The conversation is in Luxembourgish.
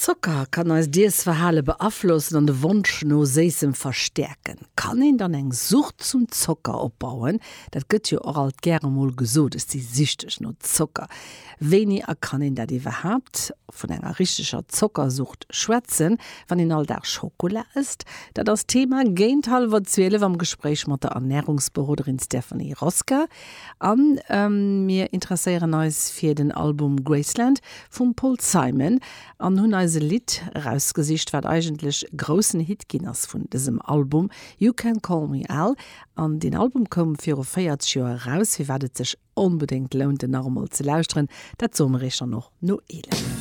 Zocker kann eist Iessverhale beaflossen an de Wonsch no Séissem verstäerken. Kann een dann eng Sucht zum Zocker opbauen? Dat gëtt jo och alt gäre mol gesot, ech si süchteg no Zocker. Wéini a kann een dat iwwerhaapt vun enger richteger Zockersucht schwätzen, wann een all Dag Schokola ësst? Dat ass d'Thema géint hallwer 12 am Gespréich mat der Ernärungsberoderin Stephanie Rosca. A mir interesséieren eis fir den Album Graceland vum Paul Simon an hunn eis e Lidd erausgesicht, wat eigentlech e groussen Hit ginn ass vun dësem Album, You Can Call Me Al. An deen Album koum viru 40 Joer eraus, firwat et sech onbedéngt lount en nach emol ze lauschteren, dat soe mer iech dann och no 11.